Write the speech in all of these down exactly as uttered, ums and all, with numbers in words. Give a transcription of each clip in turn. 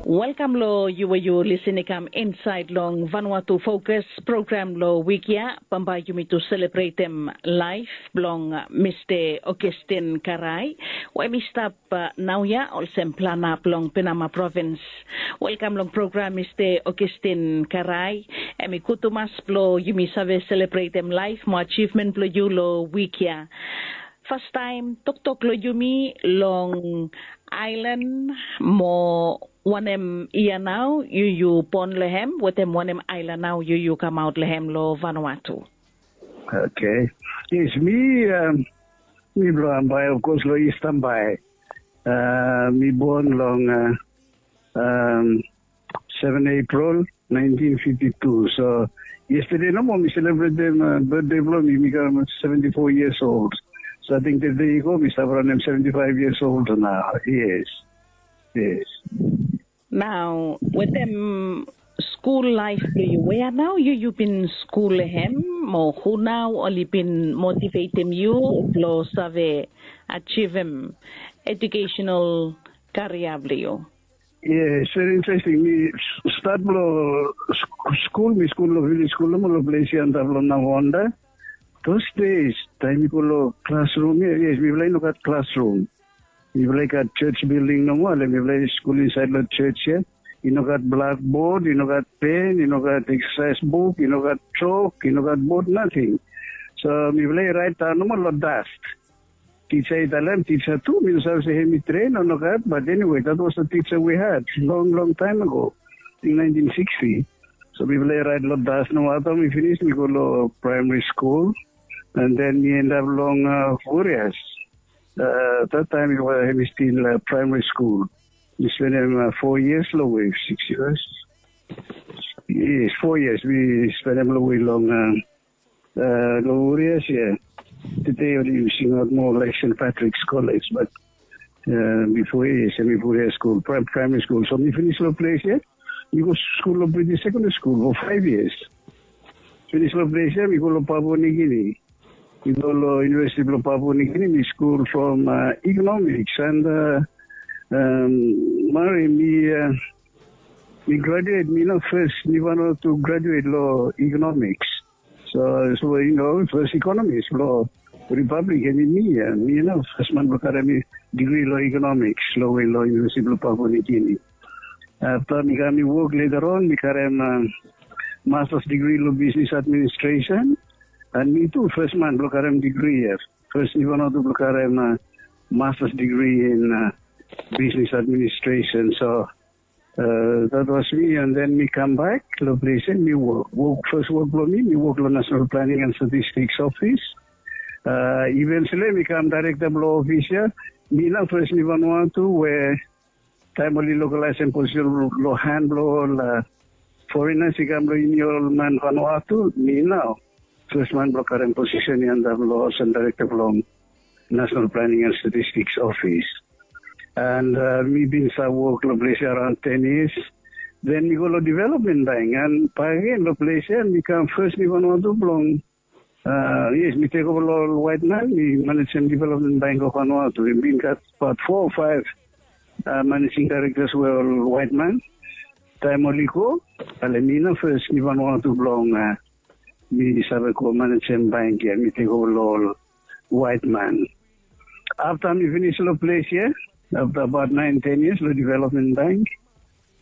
Welkam long yu we yu lisin i kam insaed long Vanuatu Fokus program long wik ya. Bambae yumi tu selebretem laef blong Mista Augustin Karai we hem i stap naoia olsem plana blong Penama provins. Welkam long program Mista Augustin Karai. Hem i gud tumas blong yumi save selebretem laef mo ajivmen blong yu long wik ya. Fastaem toktok long yumi long aelan mo wanem yia nao yu yu bon long hem wetem wanem aelan nao yu yu kamaot long hem long Vanuatu? Okay. Yes, mi um, mi blong Ambae, of course, long East Ambae. Uh, mi bon long uh, um, seven April nineteen fifty-two. So yesterday nomo mi selebretem uh, birthday blong mi, mi kam seventy-four years old. So I think the day ago mi stap ranem seventy-five years old now. Yes. Yes. Nao wetem skul laef blong yu, wea nao yu yu bin skul hem mo hu nao oli bin motivetem yu blong save ajivem edukesenal karia blong yu? Yes, very interesting. Mi stat blong skul, mi skul long vilej skul nomo long ples ya antap long Navonda. Those days taem mi go long klasrum ya, yes, mifala i no gat klasrum. Mifala i gat church building nomo, ale mifala i skul insaed long church ya. I no gat blackboard, i no gat pen, i no gat exercise book, i no gat chalk, i no gat board, nothing. So mifala i raet daon nomo long dust. Tija i talem, tija tu, mi no save se hem i tren o nogat, but anyway, that was the teacher we had long long time ago, in nineteen sixty. So mifala i raet long dust nomo, afta mi finis mi go long primary school, and then mi endap long uh, Furias. Uh, that time it was, it was still uh, primary school. Mi spendem uh, four years long we, six years. Yes, four years mi spendem long we long uh, uh, long Furias, yeah. Today oli singaot moa like St. Patrick's College, but uh, before yes, mi Furias school, prim- primary school. So mi finis long ples ya. Mi go skul long British Secondary School for five years. Finis long ples ya, mi go long Papua New Guinea. Mi go long University blong Papua New Guinea, mi skul from uh, economics and uh, um, Mari, mi uh, mi graduate, mi no first, mi Vanuatu graduate long economics. So, so you know, first economist long Republic, and mi, uh, mi, you know, first man blong karem mi degree long economics long we long University blong Papua New Guinea. Afta mi kam mi wok later on, mi karem uh, master's degree long business administration. And mi tu first man blong karem degree ya. First mi Vanuatu blong karem uh, master's degree in uh, business administration. So uh, that was me, and then mi kam bak long ples ya mi wok. Wok, first wok blong mi, mi wok long National Planning and Statistics Office. Uh, eventually mi kam director blong office ya. Mi nao first mi Vanuatu we taem oli localize position long han blong ol uh, foreigners i kam long yumi ol man Vanuatu, mi nao first man blong karem position ya antap long ol director blong National Planning and Statistics Office. And uh, mi bin stap wok long ples ya around ten years. Then mi go long Development Bank, and bakegen long ples ya mi kam first mi Vanuatu blong uh, yes, mi tek ova long ol waet man, mi manejem Development Bank of Vanuatu. Mi bin gat abaot foa o faef uh, managing directors we ol waet man. Taem oli go, ale mi nao first mi Vanuatu blong uh, mi save go manejem bank ya, mi tek ova long ol waet man. Afta mi finis long ples ya, afta abaot naen ten years long Development Bank,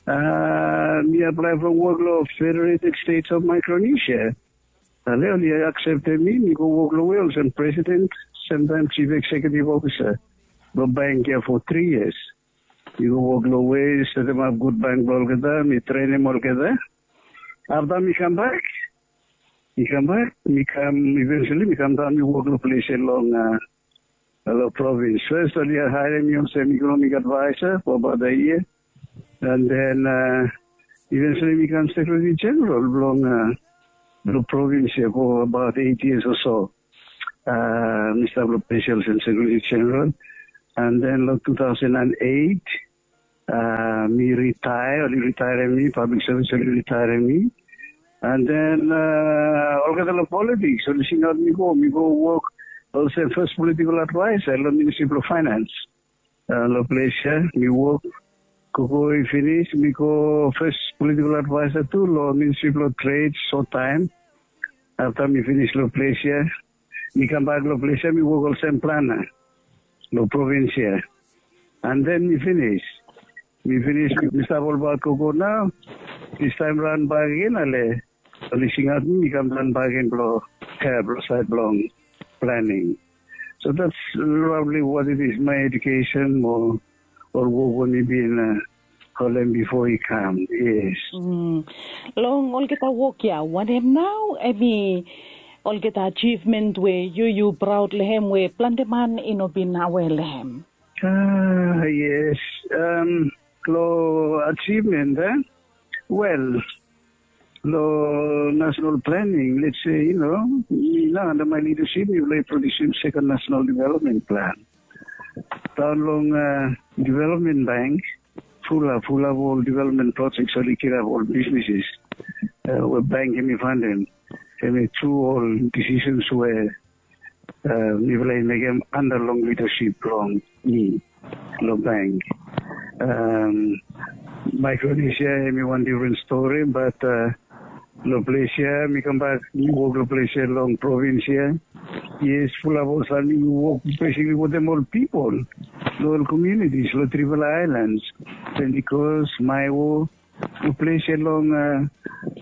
uh, mi aplae from wok long Federated States of Micronesia. Ale oli akseptem mi, mi go wok long we olsem president, semtaem chief executive officer blong bank ya for three years. Mi go wok long we setemap gud bank blong olgeta, mi trenem olgeta. Afta mi kam bak, mi kam bak, mi kam, eventually mi kam daon mi wok long ples ya long uh, long provins. First oli haerem mi olsem economic advisor for about a year, and then uh, eventually mi kam secretary general blong uh, long provins ya for about eight years or so. Uh, mi stap long ples ya olsem secretary general, and then long two thousand and eight uh, mi retire, oli retire mi, public service oli retire mi. And then uh, olgeta long politics oli singaot mi go, mi go wok olsem first political advisor long Ministry of Finance. Uh, long ples ya mi wok Gogo i finis, mi go fes politikal advaesa tu long Ministri blong Tred, sot taem. Afta mi finis long ples ya, mi kambak long ples ya, mi wok olsem plana long provins ya. And then mi finis. Mi finis, mi stap olbaot gogo nao. Distaem raon bak agen, ale oli singaot mi, mi kam daon bak agen blong, ya, blong saed blong planing. So that's probably what it is, my education mo ol wok we mi bin, uh, holem bifo i kam. Yes. Mm. Long olgeta wok ya, wanem nao hemi olgeta achievement we yu yu praod long hem we plante man i no bin aware long hem? Ah, yes. Um, long achievement, eh? Well, long national planning, let's say, you know, mi nao under my leadership, mi oli produsim second national development plan. Daon long, uh, development bank, fulap, fulap ol development projects oli kirap ol businesses, uh, we bank hemi fundem. Hemi tru ol decisions we, uh, mifala i mekem under long leadership blong mi long bank. Um, Micronesia hemi wan different story, but, uh, long ples ya, mi kambak, mi wok long ples ya long provins ya. Yes, fulap ol samting mi wok basically wetem ol pipol, long ol communities, long trifala islands. Pentecost, Maewo, long ples ya long, uh,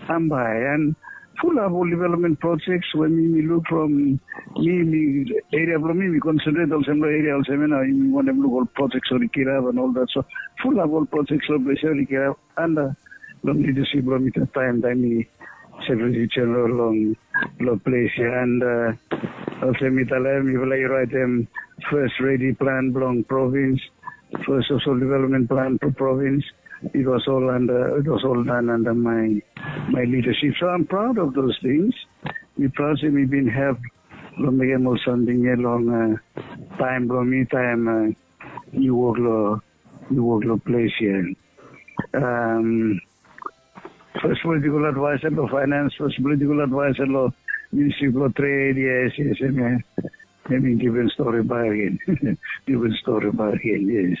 Ambae, and fulap ol development projects we mi, mi luk from mi, mi, area blong mi, mi concentrate olsem long area olsem ya nao, mi wantem luk ol projects oli kirap and all that. So fulap ol projects long ples ya oli kirap under long leadership blong mi taem, taem mi Secretary General long, long ples ya. And, uh, olsem mi talem, mifala i raetem fes ready plan blong provins, fes social development plan blong provins. It was all under, it was all done under my, my leadership. So I'm proud of those things. Mi praod se mi bin help long mekem ol samting ya long, uh, taem blong mi, taem, uh, mi wok long, mi wok long ples ya. Um, fes politikal advaesa long finance, fes politikal advaesa long Ministri blong Tred, yes, yes, hemia, hemi different story bak agen. Different story bak agen, yes.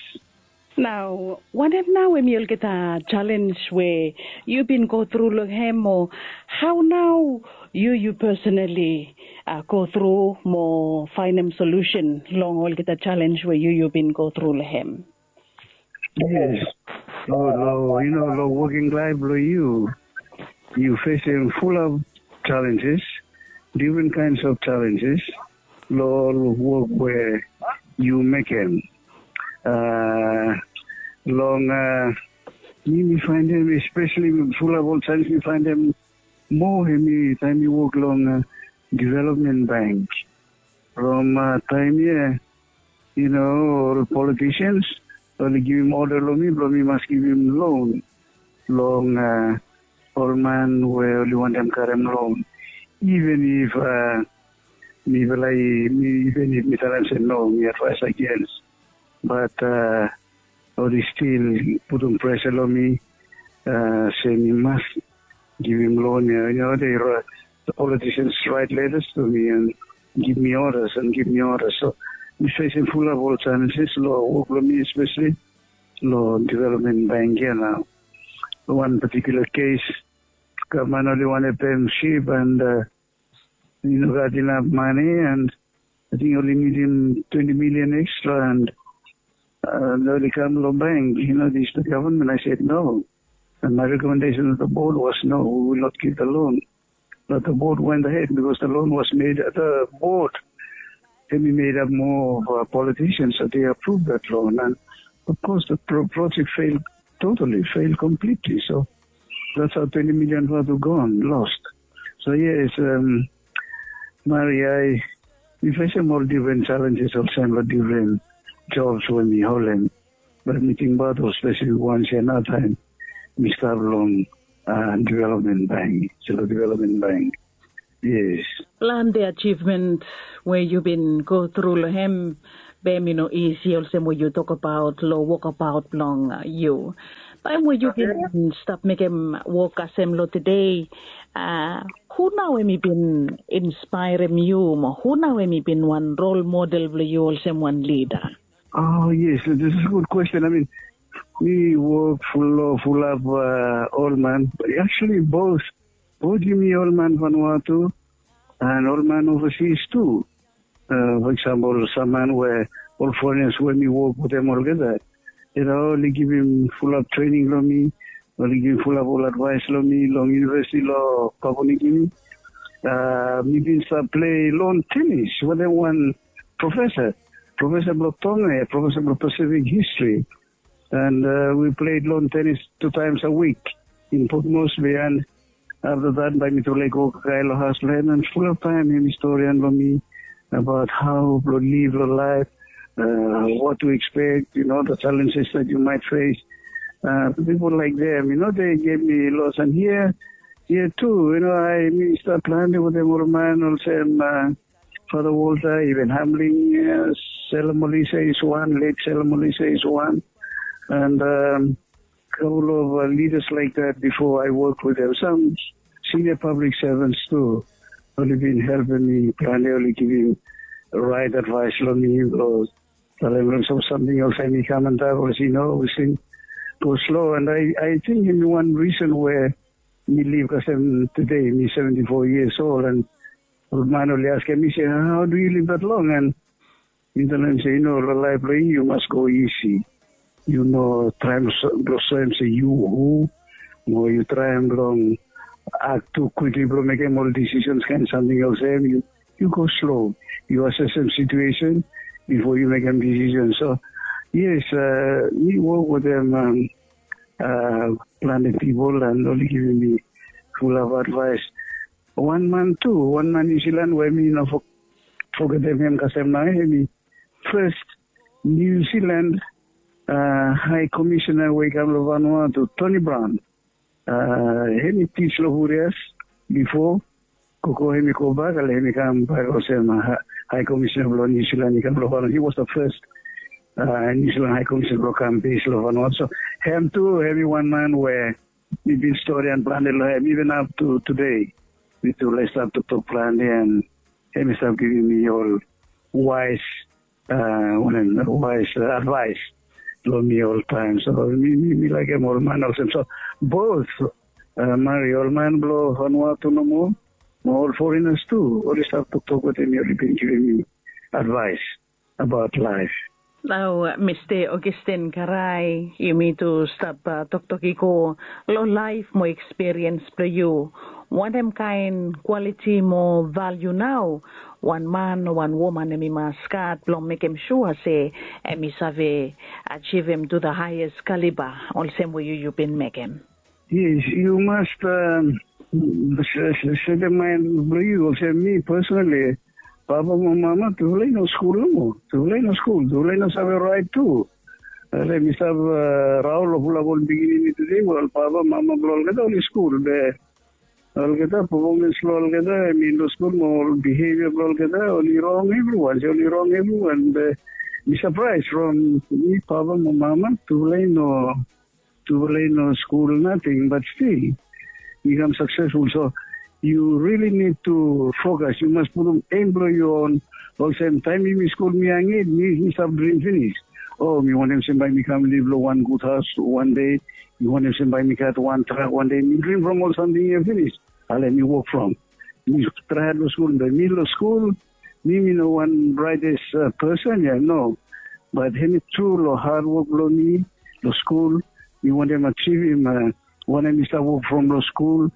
Nao, wanem nao hemi olgeta challenge we yu bin go tru long hem, o hao nao yu, yu personally, uh, go tru mo faenem solution long olgeta challenge we yu, yu bin go tru long hem? Yes. Long, long, you know, long working life blong yu, yu fesem fulap challenges, different kinds of challenges, long ol wok we yu mekem. Uh, long, uh, mi, mi faenem, especially fulap ol challenge mi faenem moa, hemi taem mi wok long, uh, development bank. From, uh, taem ya, you know, ol politicians oli givim order long mi blong mi mas givim loan long, uh, ol man we oli wantem karem loan. Even if, uh, mifala i, mi, even if mi talem se no, mi advaes against. But, uh, oli stil putum presa long mi, uh, se mi mas givim loan ya. You know, they write, the politicians write letters to me and give me orders and give me orders. So mi fesem fulap ol challenges long wok blong mi, especially long development bank ya nao. Wan particular case, gavman oli wantem pem sip and, uh, i no gat inap mane, and ating oli nidim twenti milian extra, and, uh, oli kam long bank, you know, this the government. I said no. And my recommendation to the board was, no, we will not give the loan. But the board went ahead because the loan was made, the board, hemi made up more of, uh, politicians, so they approved that loan. And of course, the pro-, project failed totally, failed completely. So that's how twenti milian vatu gone, lost. So yes, um, Maria, mi fesem ol different challenges olsem long different jobs we mi holem. Be mi tingbaot ol spesifik wans ya nao taem mi stap long, uh, development bank, Sula Development Bank. Yes. Plante achievement we yu bin go tru long hem, be hemi no isi olsem we yu tokbaot long wokbaot blong, uh, yu. Taem we yu bin stap mekem wok kasem long tede, uh, hu nao hemi bin inspaerem yu, mo hu nao hemi bin wan role model blong yu olsem wan lida? Oh, yes, this is a good question. I mean, Mi wok ful long fulap ol man. Actually both, both yumi ol man Vanuatu and ol man overseas tu. For example, sam man we ol foreigners we mi wok wetem olgeta, you know, oli givim fulap trening long mi, oli givim fulap ol advaes long mi long university long Papua New Guinea. Mi bin stap plei lon tenis wetem wan profesa, profesa blong Tonga ya, profesa blong Pacific History. And we played lon tenis tu times a week in Port Moresby. And afta dat bae mi tu laik go kakae long haos blong hem, and fulap taem hem i storian long mi abaot hao blong liv long laef, what to expect, you know, the challenges that you might face. People like them, you know, they gave me lots. And here, here too, you know, I mi stap plante wetem ol man olsem Father Walter, even Hamling, Selamolisa is one, late Selamolisa is one. And couple of leaders like that before I work with them. Some senior public servants too. Oli bin helpim mi plante, oli givim right advice long mi, long talem long some samting olsem i kam antap, olsem, you know, olsem, go slow. And I, I think hemi wan reason we mi liv kasem today, mi seventy-four years old, and ol man oli askem mi se, how do you live that long? And mi talem se, you know, long laef blong yu, yu mas go isi. Yu no traem blong soem se yu hu, mo yu traem blong akt tu kwikli blong mekem ol decisions, kaen samting olsem. Yu, yu go slow. Yu asesem situation bifo yu mekem decision. So yes, mi wok wetem plante pipol and oli givim mi fulap advaes. Wan man tu, wan man Niu Silan we mi no fogetem hem kasem nao, hemi fes Niu Silan Hae Komisena we i kam long Vanuatu, Tony Brown. Hemi tij long Hurias bifo, gogo hemi gobak, ale hemi kambak olsem Hae Komisena blong Niu Silan i kam long Vanuatu. He was the first Niu Silan Hae Komisena blong kam bes long Vanuatu. So hem tu hemi wan man we mi bin storian plante long hem, iven ap tu tude. Mi tu laik stap toktok plante, and hem i stap givim mi ol waes, wanem, waes advaes long mi oltaem. So mi, mi, mi laekem ol man olsem. So both, Mari, ol man blong Vanuatu nomo, mo ol foreigners tu, oli stap toktok wetem mi, oli bin givim mi advaes abaot laef. Nao Mista Augustine Karae, yumi tu stap toktok i go long laef mo ekspiriens blong yu. Wanem kaen kwaliti mo valiu nao wan man o wan woman hemi mas gat blong mekem sua se hemi save ajivim tu the highest caliber olsem we yu, yu bin mekem? Yes, yu mas setem maen blong yu olsem mi personally, papa mo mama tufala i no skul nomo. Tufala i no skul, tufala i no save raet tu. Ale mi stap raon long fulap ol pikinini tude we ol papa mama blong olgeta oli skul, be olgeta performance blong olgeta, I mean, long skul mo ol behavior blong olgeta oli rong evriwan, se oli rong evriwan. Be mi sapraes from mi papa mo mama tufala i no, tufala i no skul nating, but still i kam saksesful. So you really need to focus. Yu mas putum aim blong yu on. Olsem taem mi, mi skul mi yanged, mi, mi stap drim finis. O, mi wantem se bae mi kam liv long wan gud haos wan dei. Mi wantem se bae mi gat wan trak wan dei. Mi drim from ol samting ya finis. Ale mi wok from, mi traem long skul, be mi long skul, mi, mi no wan brightest person ya, no. But hemi tru long hadwok blong mi long skul, mi wantem ajivim wanem mi stap wok from long skul.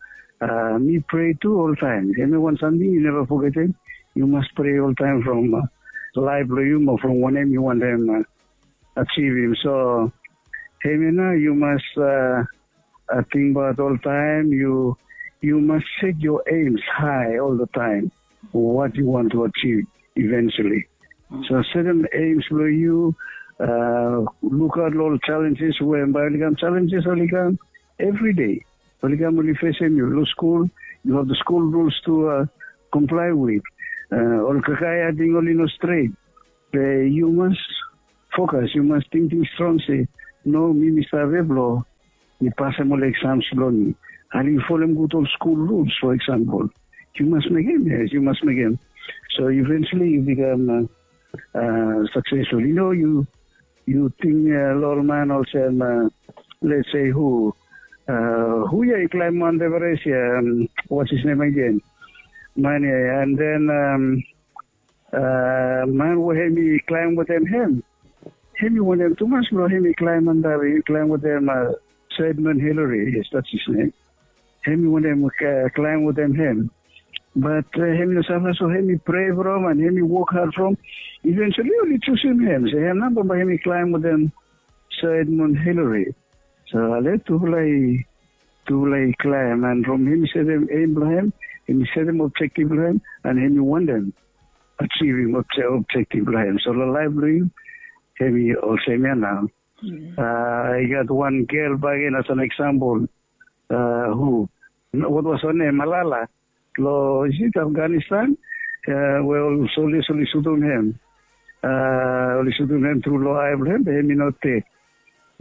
Mi prea tu oltaem. Hemi wan samting yu neva fogetem. Yu mas prea oltaem from laef blong yu mo from wanem yu wantem ajivim. So hemia nao yu mas tingbaot oltaem. Yu, yu mas set your aims high all the time. What you want to achieve eventually. So setem aims blong yu, lukaot long ol challenges we bae oli kam. Challenges oli kam evri dei. Oli kam, oli fesem yu. Long skul, you have the school rules to comply with. Ol kakae ating oli no stret. Be yu mas fokas, yu mas tingting strong se, no, mi, mi save blong mi pasem ol exams blong mi. Ale yu folem gud ol skul rules, for example. Yu mas mekem, yes, yu mas mekem. So eventually yu bikam successful. Yu no, yu yu ting long ol man olsem, let's say hu, hu ya i klaim Mount Everest ya, what's his name again? Man ya, and then man we hem i klaim wetem hem, hem i wantem tumas blong hem i klaim antap, i klaim wetem Sir Edmund Hillary, yes, that's his name. Hem i wantem klaim wetem hem. Bat hem i no save, so hem i prea from and hem i wok had from. Eventually oli jusum hem, se hem nao bambae hem i klaim wetem Sir Edmund Hillary. So ale tufala i tufala i klaim, and from hem i setem aim blong hem, hem i setem objektif blong hem, and hem i wantem ajivim objektif blong hem. So long laef blong yu hem i olsem ya nao. I gat wan gel bakegen as an eksampol, hu, what was her name, Malala, long, is it Afghanistan, we ol soldiers oli sutum hem, oli sutum hem tru long ae blong hem, be hem i no ded.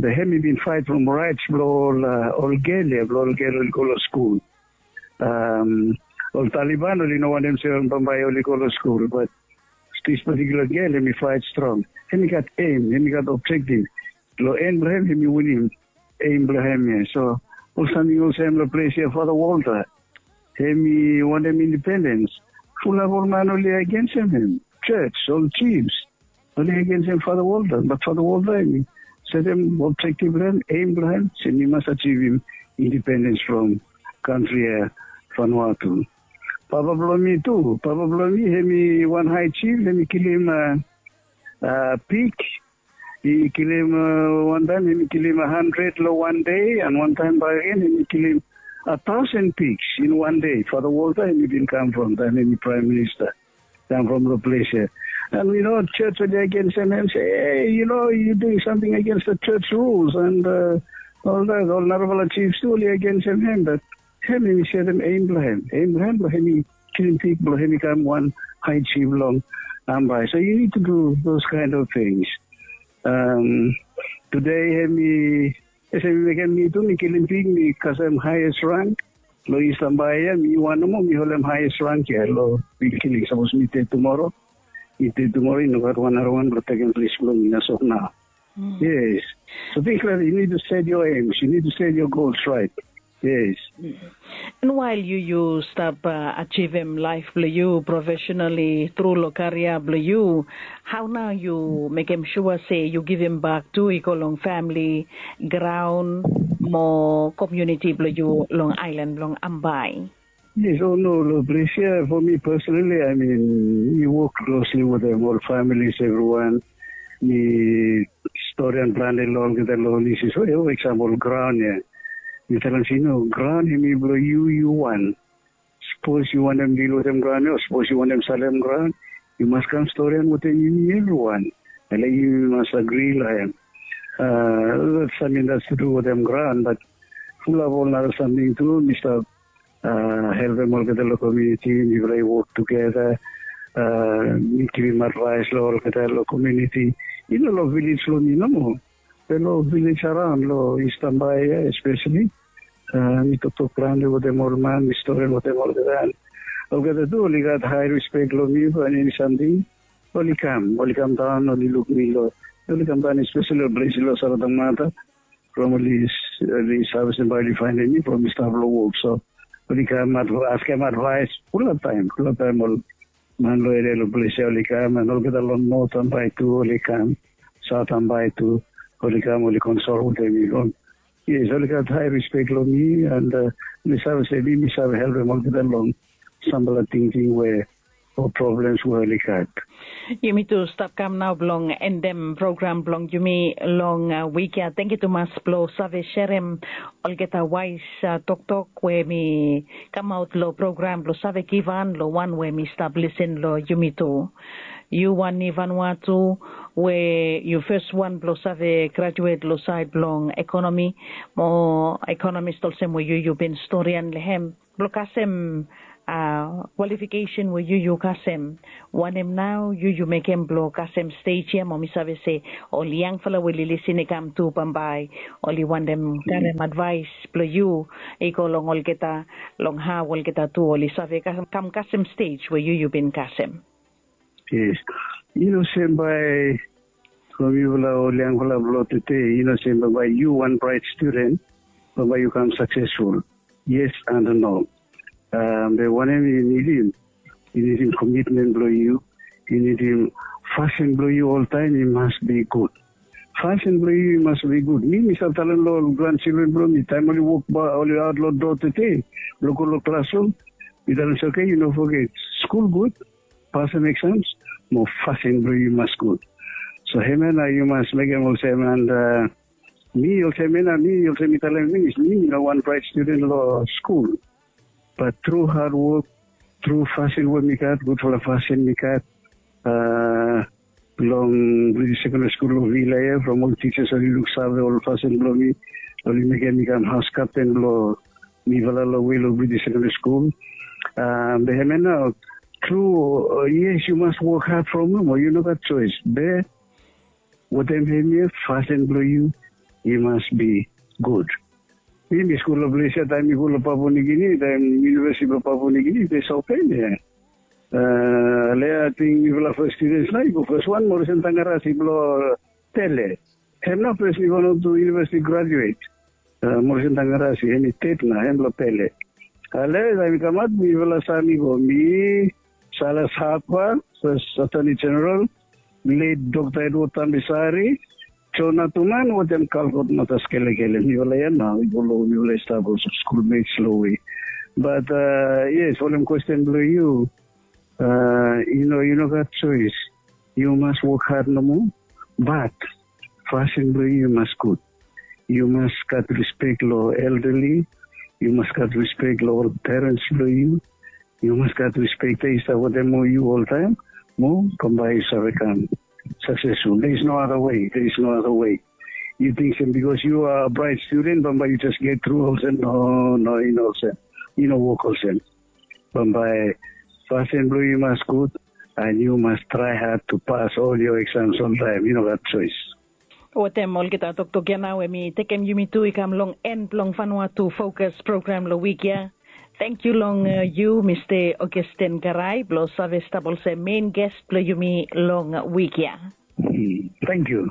Be hem i bin faet from raets blong ol gel ya, blong ol gel oli go long skul. Ol Taliban oli no wantem se bambae oli go long skul, bat this particular gel hem i faet strong. Hem i gat aim, hem i gat objektif. Long en blong hem hem i winim aim blong hem ya. So ol samting olsem long ples ya, Father Walter hem i wantem indipendens. Fulap ol man oli agensem hem. Jos, ol jifs, oli agensem Father Walter, bat Father Walter hem i setem objektif blong hem, aim blong hem, se mi mas ajivim indipendens from kantri ya, Vanuatu. Papa blong mi tu, papa blong mi hem i wan hae jif, hem i kilim pig. I kilim, wantaem hem i kilim handred long wan dei, and wantaem bakegen hem i kilim a taosen pigs in wan dei. Father Walter hem i bin kam from taem hem i praem minista, kam from long ples ya. And yu no, jos oli agensem hem se, ei, yu no, yu duing samting agens long jos ruls, and ol dat, ol narafala jifs tu oli agensem hem, bat hem hem i setem aim blong hem, aim blong hem blong hem i kilim pig blong hem i kam wan hae jif long Ambae. So yu nid tu du those kaen of tings. Tude hem i, ese mi mekem, mi tu mi kilim pig, mi kasem haes rank long East Ambae ya. Mi wan nomo mi holem haes rank ya long pig kilim. Sapos mi ded tumoro, mi ded tumoro, i no gat wan narawan blong tekem ples blong mi as of nao. Yes. So things like that, you need to set your aims, you need to set your goals right. Yes. And wael yu yu stap ajivim laef blong yu profesenali tru long karia blong yu, hao nao yu mekem sua se yu givimbak tu i go long famili, graon mo komuniti blong yu long aelan blong Ambae? Yes, o no, long ples ya, for mi personali, I mean, mi wok klosli wetem ol familis evriwan. Mi storian plante long olgeta long ol isus. O, eksampol graon ya. Mi talem se, no, graon hem i blong yu, yu wan. Sapos yu wantem dil wetem graon ya, o sapos yu wantem salem graon, yu mas kam storian wetem yumi evriwan. Laek yumi mas agri long hem. That samting that's to do wetem graon, bat fulap ol nara samting tu, mi stap helpem olgeta long komuniti, mifala i wok tugeta, mi givim advaes long olgeta long komuniti. I no long vilej blong mi nomo, be long vilej araon long East Ambae ya espeseli. Mi toktok plante wetem ol man, mi stori wetem olgeta, and olgeta tu oli gat hae rispek long mi, fo eni samting oli kam, oli kam daon, oli luk mi long, oli kam daon espeseli long ples long Saratang Mata, from oli save se bae oli faenem mi from mi stap long wok. So oli kam askem advaes fulap taem, fulap taem ol man long eria long ples ya oli kam, and olgeta long North Ambae tu oli kam, South Ambae tu oli kam, oli konsol wetem mi. Yes, oli gat hae rispek long mi, and mi save se mi, mi save helpem olgeta long sampela tingting we ol problems we oli gat. Yumi tu stap kam nao blong endem program blong yumi long wik ya. Tangkiu tumas blong save serem olgeta waes toktok we mi kamaot long program blong save givhan long wan we mi stap lisin long yumi tu. Yu wan i Vanuatu we yu fes wan blong save grajuet long saed blong ekonomi mo ekonomis olsem we yu yu bin storian long hem, blong kasem kwalifikesen we yu yu kasem. Wanem nao yu yu mekem blong kasem stej ya, mo mi save se ol yangfala we oli lisin i kam tu bambae oli wantem karem advaes blong yu i go long olgeta, long hao olgeta tu oli save kam kasem stej we yu yu bin kasem. Yes. Yu no se bae from yufala ol yangfala blong tede, i no sem bambae yu wan bright student, bambae yu kam saksesful. Yes and no. Be wanem yu nidim? Yu nidim komitmen blong yu. Yu nidim fasin blong yu oltaem i mas bi gud. Fasin blong yu i mas bi gud. Mi mi save talem long ol granchildren blong mi, taem oli wok, oli aot long doa tede blong go long klasrum, mi talem se, oke, yu no foget, skul gud, pasem eksams, mo fasin blong yu i mas gud. So hemia nao yu mas mekem olsem. And mi olsem, mi olsem mi talem finis, mi no wan braet studen long skul. Bat tru hadwok, tru fasin we mi gat, gudfala fasin mi gat long British Secondary School long Vila ia, from ol tijas oli luksave ol fasin blong mi, oli mekem mi kam haos kapten blong mifala long we long British Secondary School. Be hemia nao, tru, yes, yu mas wok had from nomo, yu no gat joes. Be wetem hemia, fasin blong yu i mas bi gud. Mi mi skul long ples ia, taem mi go long Papua New Guinea, taem University blong Papua New Guinea i jes open ia. Lea ating mifala fes studens nao i go, fes wan Morrison Thangarasi blong Pele. Hem nao fes mifala tu university graduate, Morrison Thangarasi, hem i ted nao, hem blong Pele. Lea taem mi kamaot, mifala save mi go, mi, Silas Harper, fes Attorney General, late Dr Edward Tamisari, John Atuman wetem Kalkot Matas Kelekele. Mifala ia nao i go long we mifala i stap olsem skulmets long we. Bat yes, folem kwesten blong yu, i no, yu no gat joes. Yu mas wok had nomo. Bat fasin blong yu i mas gud. Yu mas gat rispek long eldali. Yu mas gat rispek long ol perens blong yu. Yu mas gat rispek, de i stap wetem yu oltaem, mo bambae yu save kam saksesful. There is no other way. There is no other way. Yu ting se bikos yu a braet studen, bambae yu jes get tru olsem? No, no, i no olsem. I no wok olsem. Bambae fasin blong yu i mas gud, and yu mas trae had tu pas ol yo eksams oltaem. I no gat joes. Wetem olgeta toktok ia nao we mi tekem yumi tu i kam long en blong Vanuatu Focus program long wik ia. Tangkiu long yu, Mista Augustine Karai, blong save stap olsem mein ges blong yumi long wik ia. Tangkiu.